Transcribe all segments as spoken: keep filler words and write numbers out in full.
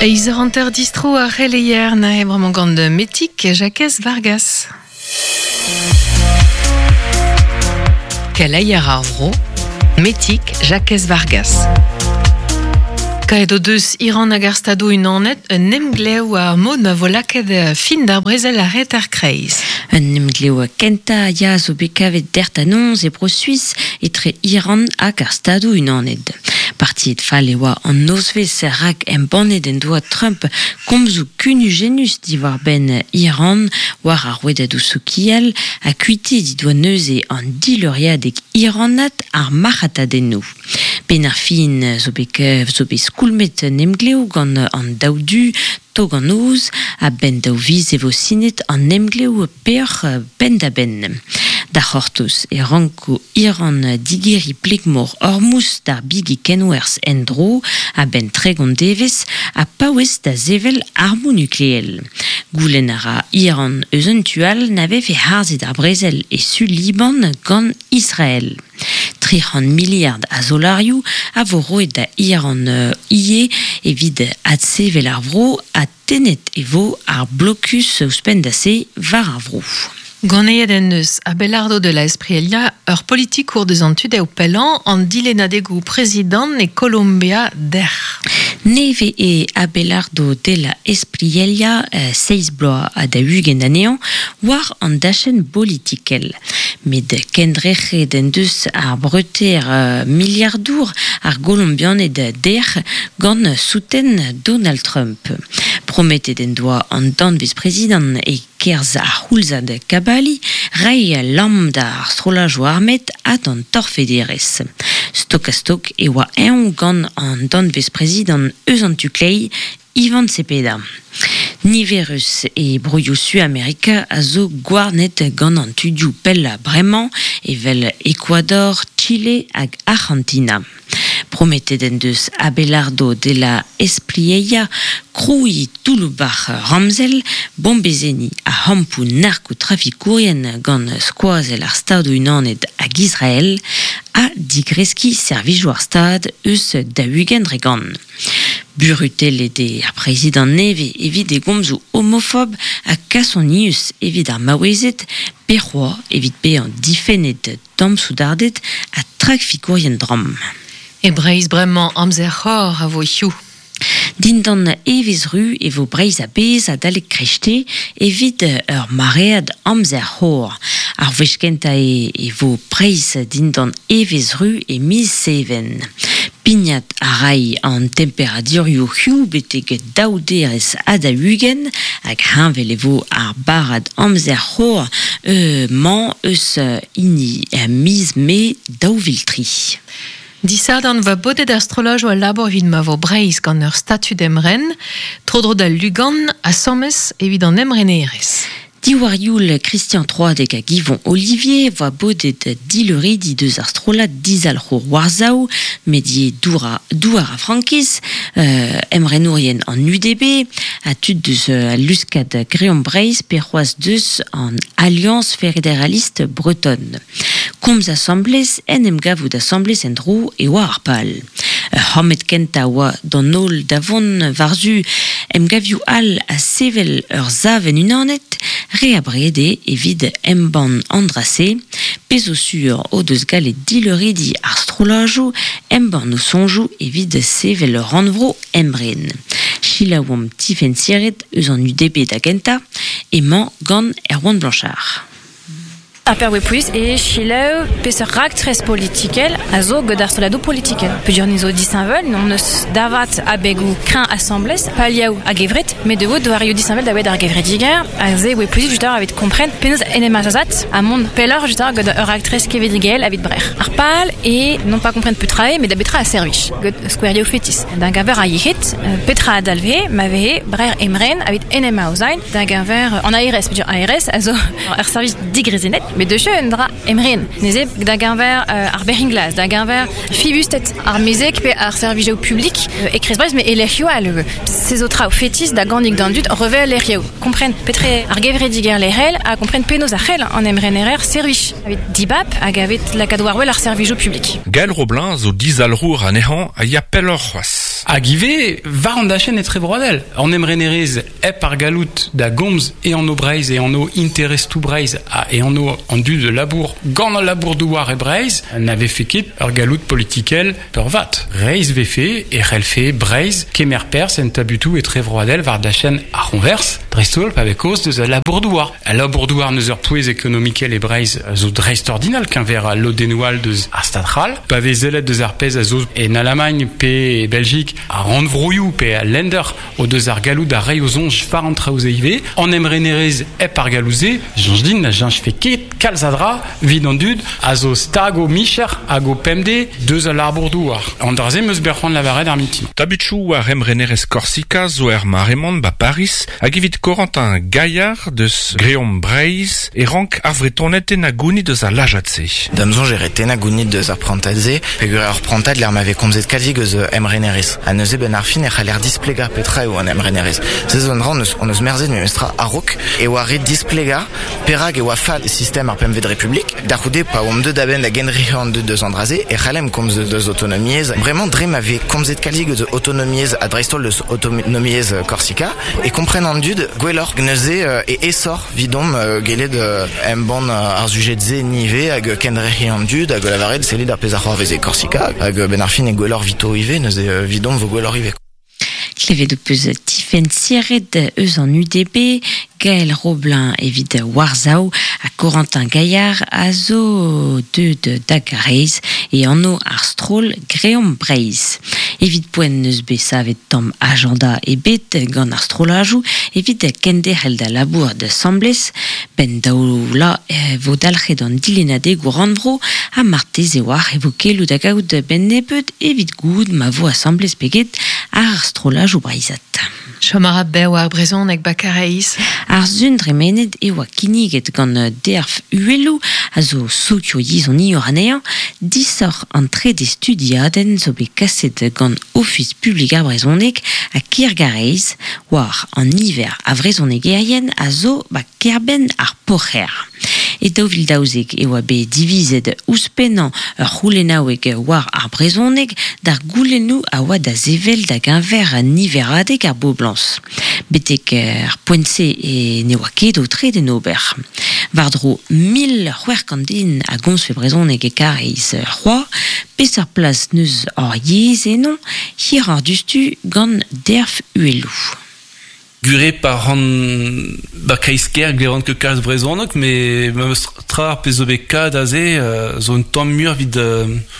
Eiz hanter distro ar c'heleier na e bremañ gant Metik Jakez Vargas. Keleier ar vro, Metik Jakez Vargas. Kaet o deus Iran hag ar stado unanet un emglev ar mod ma vo lakaet fin d'ar brezel ar reter kreiz. Un emglev kenta ya zo bet kavet dert anonz e bro Suis etre Iran hag ar stado unanet. Partiet fall e oa an nozvez rak embannet en doa Trump komzoù kunujenus diwar ben Iran war ar rouedadoù sokial ha kuite di doa neuze an dileuriadeg Iranat ar marc'hatadennoù. Ben ar fin zo bet, zo bet skoulmet un emglev gant an daou du tog an oz a ben daou viz e vo sinet an emglev peoc'h ben da ben. Da c'hortoz e ranko Iran digeri plegmor Hormuz d'ar bigi kenwerz endro a ben tregont devez a paouez da zevel armoù nukleel. Goulenn a ra Iran eus un tual na vefe harzet ar brezel e su Liban gant Israël. tri c'hant miliard a zolarioù a vo roet da Iran ie evit adsevel ar vro ha tenet e vo ar blokus ouzhpenn da se war ar vro. Ganeet en eus Abelardo de la Espriella ur politikour deus an tud eo pellañ an dilennadegoù prezidant e Colombia der. Neve e Abelardo de la Espriella euh, seiz bloaz ha da ugent anezhañ war an dachenn bolitikel. Met kendrec'het en deus ar breter euh, miliardour ar Golombianed der gant souten Donald Trump. Prometet en doa an danvez prezidant e kerz ar c'houlzad kabali, rei lamm d'ar strollajoù armet ha d'an torfederez. Stok a stok e oa eñ gant an danvez prezidant eus an tuklei, Ivan Cepeda. Niverus e broioù Su-Amerika a zo gwarnet gant an tudioù pella bremañ evel Ecuador, Chile hag Argentina. Prometet en deus Abelardo de la Espriella kroui touloubar ramzel, bombezeni a hampoù narkotrafikourien gant skoazel ar stadoù unanet hag Israël ha digreski servijoù ar stad eus da-ugent dre gant. Burutellet eo ar prezidant nevez evit e gomzoù homofob ha kasonius evit ar maouezed, pe c'hoazh evit bezañ difennet tamm-soudarded ha trafikourien dramm. E Breizh bremañ amzer c'hor a vo hiziv. Dindan evezh ru e vo Breizh a-bezh adalek krechte evit ur maread amzer c'hor. Ar wech kentañ e, e vo Breizh dindan evezh ru e miz Seven. Pignat a ray an temperadurioù hiziv betek daou derez ha da ugent hag heñvel e vo ar barrad amzer c'hor euh, mañ eus hini miz Mae daou vil tri. Disadorn va bodet ar strollajoù al labour evit ma vo Breizh gant ur statud emren, tro-dro da Lugan ha Sommes evit an emrenerezh. Diwar youl Christian Troadeg hag Yvon Olivier voa bodet dileuridi deus ar strollad dizalc'hour Warsaw, medie douar, douar a frankiz, euh, emrenourien an U D B, ha tud deus euh, luskad Greon Breizh pe c'hoazh deus an Alliance Fédéraliste Bretonne. Komz assemblez en em gavout assemblez en dro e oa ar pal. C'hammet kenta oa d'an holl da vont war-zu em gavioù all a sevel ur zaven unanet, re a brede evit embann andrase, pezo sur o deus galet dileuridi ar strollajoù, embann o soñjoù evit sevel ur rannvro emren. Selaouomp Tifenn Siret eus an U D B da gentañ, emañ gant Erwan Blanchard. Ar per plus e chileù peseurt raktres politikel a zo gant ar strolladoù politikel. Peogwir ni zo disheñvel, n'on eus davat abegoù kreñv asambles, paliaou hag evret, met de vo doarioù disheñvel da wet ar gevrediger, a ze oe plus just evit kompren penaos en em azazat a mont pelloc'h just gant ur raktres kevredigel evit brec'h. Ar pal e non pas kompren petra eo, met da betra a servij, gant skouerioù fetis. D'un gaver a yec'hed, petra a dalve, ma vehe brec'h emren evit en em aozain, d'un gaver an A R S, peogwir A R S a zo ur servij digrezenet, met deus un dra emren. Neze da geñver euh, ar berringlas, da geñver fibustet ar mezeg pe ar servijoù publik euh, e Kreiz Breizh, met e lec'hioù all. Se zo traoù fetis da gannig d'an dud revel lec'hioù. Kompren petre ar gevrediger lec'hel ha kompren penaos ar c'hell an emrenerer servij. Evit dibab hag evit lakaat war wel ar servijoù publik. Gaël Roblin zo dizalrour anezhañ a ya pelloc'h c'hoazh. c'hoaz. Hag ivez, war an dachenn etrevroadel. An emrenerez hep ar galout da gomz e an o Breizh e an o interestoù Breizh ha e an o an dud de labour gant al labour douar e Breizh n'ave fait ket ur galout politikel peurvat. Reizh vefe e c'hellfe Breizh kemer perzh en tabutoù etrevroadel war dachenn ar c'honvers, dreist-holl pa vez kaoz deus al labour douar. Al labour douar neus ur pouez ekonomikel e Breizh zo dreist-ordinal keñver al lodennoù all deus ar Stad c'hall. Pa vez sellet deus ar pezh a zo en Allemagne pe e Belgique a rannvroioù pe a Länder o deus ar galout da reiñ o soñj war an traoù-se ivez. An emrenerez hep ar galoù-se, soñj din na cheñch fe ket kalz a dra evit an dud a zo stag o micher hag o pemdez deus al labour douar. An dra-se 'm eus bet c'hoant lavaret ar mintin. Tabutoù war emrenerez Korsika zo er mare-mañ ba Paris hag evit Corentin Gaillard deus Greomp Breizh e rank ar Vretoned tennañ gounid deus al lajad-se. D'am soñj e ret tennañ gounid deus ar prantad-se, peogwir ur prantad lec'h ma vez komzet kalzik eus emrenerez. Ha neuze ben ar fin e c'haller displegañ petra eo an emrenerez. Se zo un dra on eus, on eus merzet memestra a-raok e oa ret displegañ perak e oa fall sistem ar pempvet Republik. Da c'houde pa oamp deuet a-benn da gendrec'hiañ an dud deus an dra-se e c'hallemp komz deus autonomiezh. Bremañ dre ma vez komzet kalzik eus autonomiezh ha dreist-holl deus autonomiezh Korsika e kompren an dud gwelloc'h neuze e aesoc'h 'vidomp gellet embann ar sujed-se nive hag kendrec'hiañ an dud hag lavaret sellit ar pezh a c'hoarvez e Korsika hag ben ar fin e gwelloc'h 'vito ivez neuze 'vidomp vo gwelloc'h ivez. Klevet ho peus Tifenn Siret eus an U D B, Gaël Roblin evit Warzao ha Corentin Gaillard a zo deuet da Gareiz e anv ar stroll Greomp Breizh. Evit poent neus bet savet tamm agenda ebet gant ar strollajoù evit kenderc'hel da labour da asambles, ben daou la vo dalc'het an dilennadegoù rannvro ha marteze oar e vo keloù da gaout ben nebeut evit goût ma vo asambles peget ar strollajoù breizhat. Chom a ra bev ar brezhoneg ba Karaez. Ar sun dremenet e oa kinniget gant Derf Uhelloù a zo sokioyezhoniour anezhañ, disoc'h an trede studiadenn zo bet kaset gant Ofis publik ar brezhoneg ha Kêr Garaez war an niver a vrezhonegerien a zo ba kêr-benn ar Poc'hêr. E daou vil daouzek e oa bet divizet ouzhpennañ ur c'houlennaoueg war ar brezhoneg d'ar goulennoù a oa da sevel da geñver niveradeg ar boblañs. Betek ar poent-se e ne oa ket o tre d'en ober. War-dro mil c'hwec'h kant den a gomzfe brezhoneg e Karaez c'hoazh, peseurt plas neus hor yezh eno, hir ar dustu gant Derf Uhelloù. Gure par an ba kreiz-kêr glevan ket kalz brezhoneg, met memes tra ar pezh zo bet kad aze zo un tamm muioc'h evit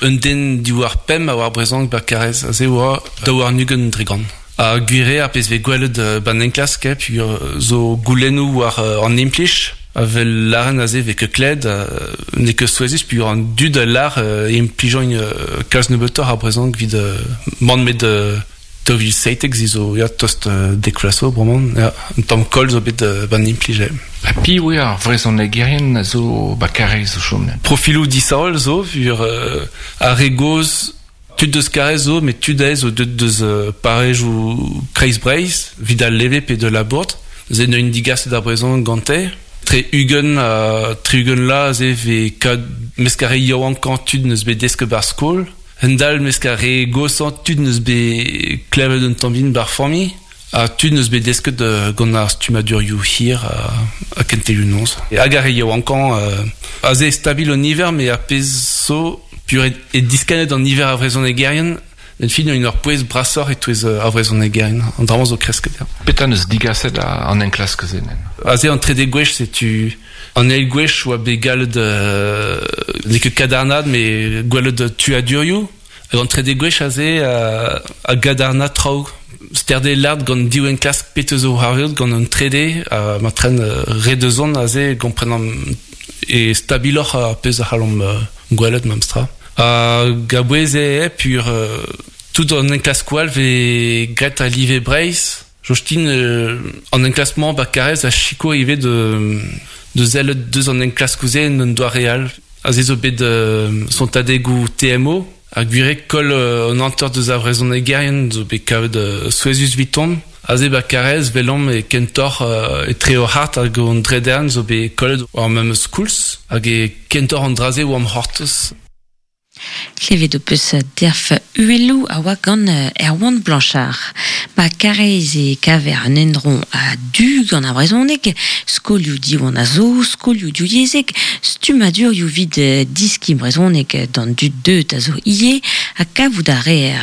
un den diwar pemp a oar brezhoneg ba Karaez aze oa daou warn-ugent dre gant. Ha gwir eo ar pezh vez gwelet ban enklask, peogwir zo goulennoù war an implij, avel lâren aze vez ket kled, n'eo ket souezhus peogwir an dud a lâr implijañ kalz nebeutoc'h ar brezhoneg evit mann met daou vil seitek zi zo ya tost dek vloaz zo bremañ, ya, un tamm koll zo bet ban implij. Ha piv eo ar vrezhonegerien a zo ba Karaez o chom? Profiloù disheñvel zo, vur ar re gozh tud deus Karaez zo, met tud aes zo deut deus parrezioù Kreiz Breizh, evit al leve pe de Labourd. Ze neuint digaset ar brezhoneg gante. Tre ugent ha tri-ugent la ze vez kad mesk ar re yaouankañ tud neus bet desket bar skol. Hendal mesk ar re goshañ tud neus bet klevet un tamm bihan bar familh, ha tud neus bet desket gant ar stummadurioù hir ha kentelioù noz. Hag ar re yaouankañ aze stabil an niver, met ar pezh zo pur e diskannet an niver a vrezhonegerien, en fin un ur pouez brasoc'h e-touez ar vrezhonegerien, an dra-mañ zo kresket. Petra neus digaset an enklask-se nen? Aze an trede gwech, setu an eil gwech oa bet gallet n'eo ket kadarnaat, met gwelet tuadurioù. Hag an trede gwech aze a gadarna traoù. Sterde lard gant div enklask petra zo c'hoarvezet gant an trede, ma tren re deus on aze kompren e stabiloc'h ar pezh a c'hallomp gwelet memestra. Hag a-bouez eo pur tout an enklaskoù all vez graet a live Breizh. Jostin an enklask-mañ ba Karaez a sikour ivez de de sellet deus an enklaskoù-se en un doare all. Aze zo bet sontadegoù T M O, hag gwir eo koll an hanter deus ar vrezhonegerien zo bet kavet souezhus 'viton. Aze ba Karaez velomp e kentoc'h etre hor c'hart hag an dredern zo bet kollet war memes koulz, hag e kentoc'h an dra-se oamp c'hortoz. Klevet o peus derf uelou a oa gant Erwan Blanchard. Ba karez e kaver an endron a du gant ar brezhoneg, skolioù diwan a zo, skolioù diouyezek, stumadur ioù vid diski brezhoneg d'an dud deut a zo ie, ha kavout a reer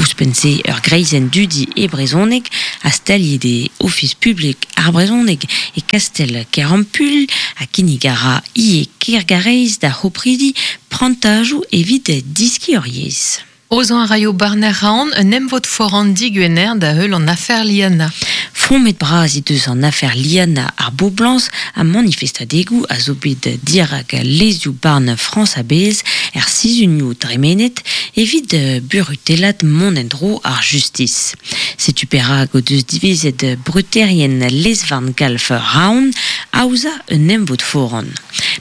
ouzhpenn-se ur greizenn dudi e brezhoneg, a staliet e ofis publik ar brezhoneg e Kastel Kerampul, ha kinnig a ra ie Kergarez da c'hopridi prantajoù evit diski ur yezh. Ozan a raio barner raon un emvod foran diguener da heul an afer Liana. Fromet bras he deus an afer Liana ar Boblañs a manifestadegou a zo bet dirak lezioù barn Frañs a-bezh er sizhunioù dremenet evit burutellat mont en-dro ar justis. Setu perak o deus divezet bruterien lezvarn galf raon aoza un emvod foran.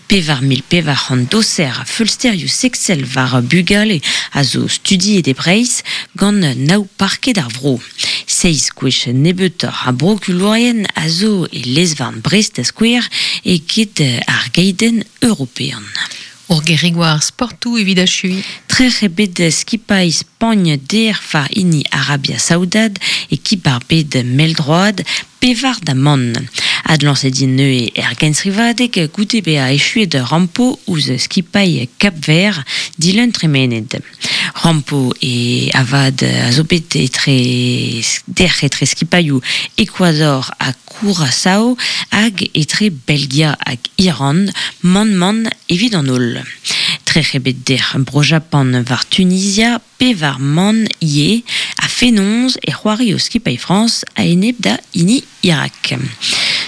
Pevar mil pevar c'hant doser a feulsterioù sexel war bugale a zo studiet e Breizh gant naou parket ar vro. Seiz gwech nebeutoc'h a brokulourien a zo e lezvarn Brest da skouer e get ar geidenn european. Ur gerig war sportoù evit achui. Trec'h eo bet skipailh Spagn der war hini Arabia Saoudad e kip ar bed mell-droad pevar da mann. Adlañset int neuze er gensrivadeg goude bezañ echuet rampo ouzh skipailh Cap-Vert dilun tremenet. Rampo e avad a zo bet etre derc'h etre skipailhoù Ecuador ha Curaçao hag etre Belgia hag Iran mann-mann evit an holl. Trec'h eo bet derc'h Bro-Japan war Tunisia, pevar mann ie a fenoz e c'hoari o skipailh Frañs a-enep da hini Irak.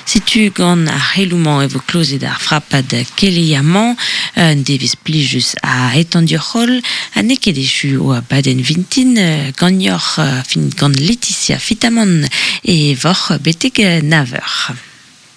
Setu gant ar c'heloù-mañ e vo klozet ar frapad keleier-mañ, un devezh plijus a etan dioc'h-holl, ha n'eo ket echu o abadenn vintin ganeoc'h, fin gant Laetitia Fitamant e voc'h betek nav eur.